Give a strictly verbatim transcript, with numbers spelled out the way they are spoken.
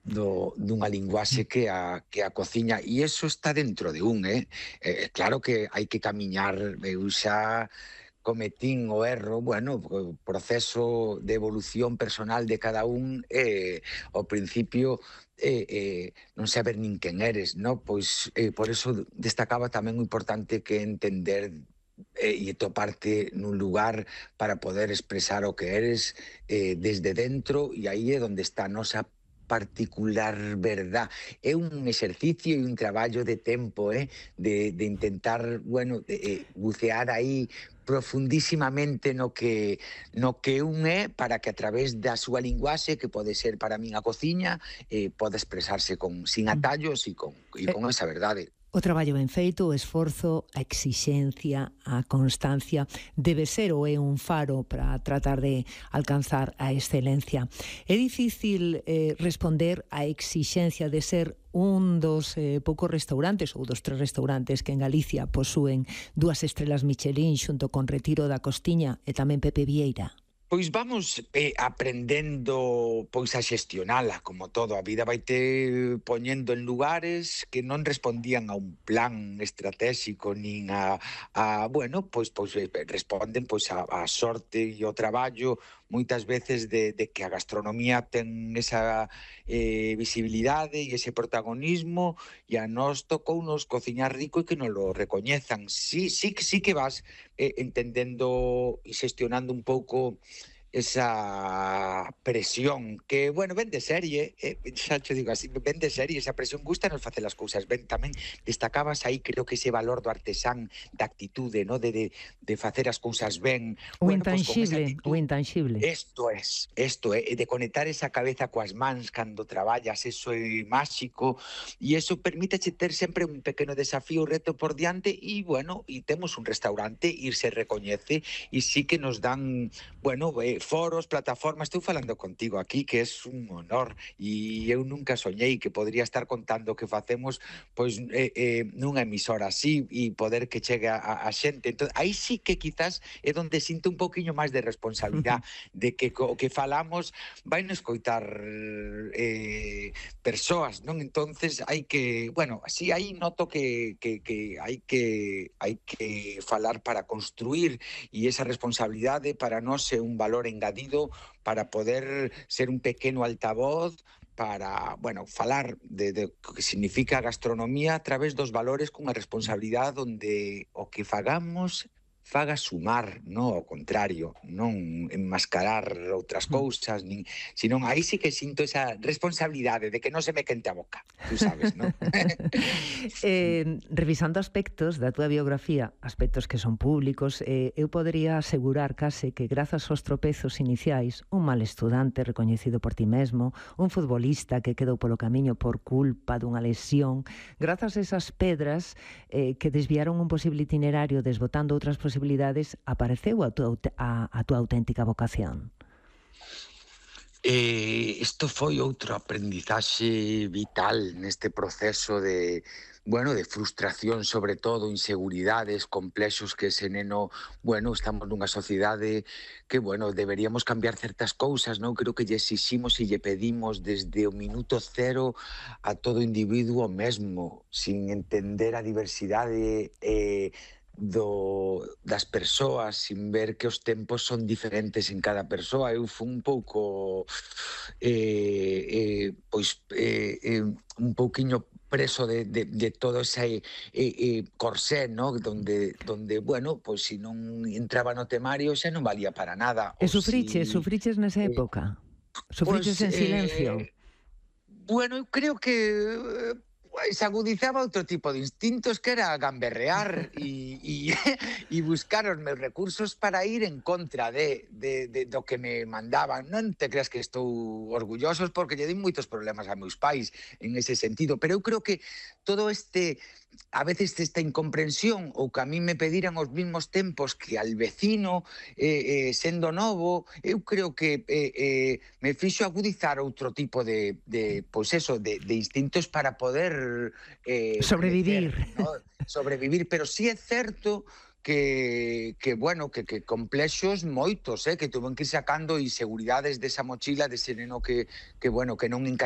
do, dunha linguaxe que a, que a cociña, e iso está dentro de un, eh? eh claro que hai que camiñar, eu xa cometín o erro, bueno, o proceso de evolución personal de cada un, eh, ao principio eh, eh, non saber nin quen eres, no? Pois eh, por eso destacaba tamén o importante que entender eh, e toparte nun lugar para poder expresar o que eres eh, desde dentro, e aí é onde está a nosa particular verdad. É un exercicio e un traballo de tempo, eh? de, de intentar, bueno, de, eh, bucear aí profundísimamente no que no que un é, para que a través da súa linguaxe, que pode ser para min a cociña, eh, pode expresarse con sin atallos e con, e con esa verdade. O traballo ben feito, o esforzo, a exixencia, a constancia debe ser ou é un faro para tratar de alcanzar a excelencia. É difícil eh, responder á exixencia de ser un dos eh, poucos restaurantes ou dos tres restaurantes que en Galicia posúen dúas estrelas Michelin xunto con Retiro da Costiña e tamén Pepe Vieira. Pois vamos eh, aprendendo pois a xestionala, como todo. A vida vaite poñendo en lugares que non respondían a un plan estratégico nin a, a bueno, pois pois responden pois a, a sorte e o traballo moitas veces de, de que a gastronomía ten esa eh, visibilidade e ese protagonismo, e a nós tocounos cociñar rico e que non lo recoñezan. Sí, sí, sí que vas eh, entendendo e xestionando un pouco esa presión que, bueno, ven de serie, eh, xa te digo así, ven de serie, esa presión gusta nos facer as cousas ben. Tamén destacabas aí, creo que ese valor do artesán, da actitude, no? de, de, de facer as cousas ben. O bueno, intangible, pues o intangible. Isto é, isto é, de conectar esa cabeza coas mans cando traballas, eso é máxico, e eso permíteche ter sempre un pequeno desafío, reto por diante, e, bueno, e temos un restaurante, e se recoñece, e sí que nos dan, bueno, eh, foros, plataformas. Estou falando contigo aquí, que é un honor, e eu nunca soñei que podría estar contando o que facemos pois eh, eh, nunha emisora así, e poder que chegue a, a xente. Entón, aí sí que quizás é onde sinto un poquinho máis de responsabilidade de que o que falamos vai non escoitar eh, persoas, non? Entonces hai que, bueno, así aí noto que, que, que hai que hai que falar para construir, e esa responsabilidade para nós é un valor engadido para poder ser un pequeno altavoz para, bueno, falar de, de o que significa a gastronomía a través dos valores, cunha responsabilidade onde o que fagamos faga sumar, non ao contrario, non enmascarar outras cousas, nin, senón aí sí que sinto esa responsabilidade de que non se me quente a boca, tú sabes, non? eh, revisando aspectos da túa biografía, aspectos que son públicos, eh, eu podería asegurar case que grazas aos tropezos iniciais, un mal estudante recoñecido por ti mesmo, un futbolista que quedou polo camiño por culpa dunha lesión, grazas a esas pedras eh, que desviaron un posible itinerario desbotando outras posibilidades, apareceu a tua, a, a tua auténtica vocación? Eh, isto foi outro aprendizaxe vital neste proceso de, bueno, de frustración, sobre todo, inseguridades, complexos que ese neno, bueno, estamos nunha sociedade que, bueno, deberíamos cambiar certas cousas, non? Creo que lle exiximos e lle pedimos desde o minuto cero a todo individuo mesmo, sin entender a diversidade eh, do, das persoas, sin ver que os tempos son diferentes en cada persoa. Eu fui un pouco eh, eh, pois eh, eh, un pouquiño preso de, de, de todo ese eh, eh, corsé, ¿no? Donde, donde, bueno, pois se non entraba no temario xa non valía para nada. E sufriches, si, sufriches nesa eh, época? Sufriches pues, en silencio? Eh, bueno, eu creo que se agudizaba outro tipo de instintos, que era gamberrear e, e, e buscar os meus recursos para ir en contra de, de, de do que me mandaban. Non te creas que estou orgullosos, porque lle di moitos problemas a meus pais en ese sentido, pero eu creo que todo este, a veces esta incomprensión, ou que a mí me pediran os mismos tempos que al vecino, eh, eh, sendo novo, eu creo que eh, eh, me fixo agudizar outro tipo de, de pois eso, de, de instintos para poder Eh, sobrevivir, crecer, ¿no? Sobrevivir, pero sí é certo que, que bueno, que, que complexos moitos, eh, que tuven que ir sacando inseguridades desa mochila, dese neno que, que bueno, que non encaixaba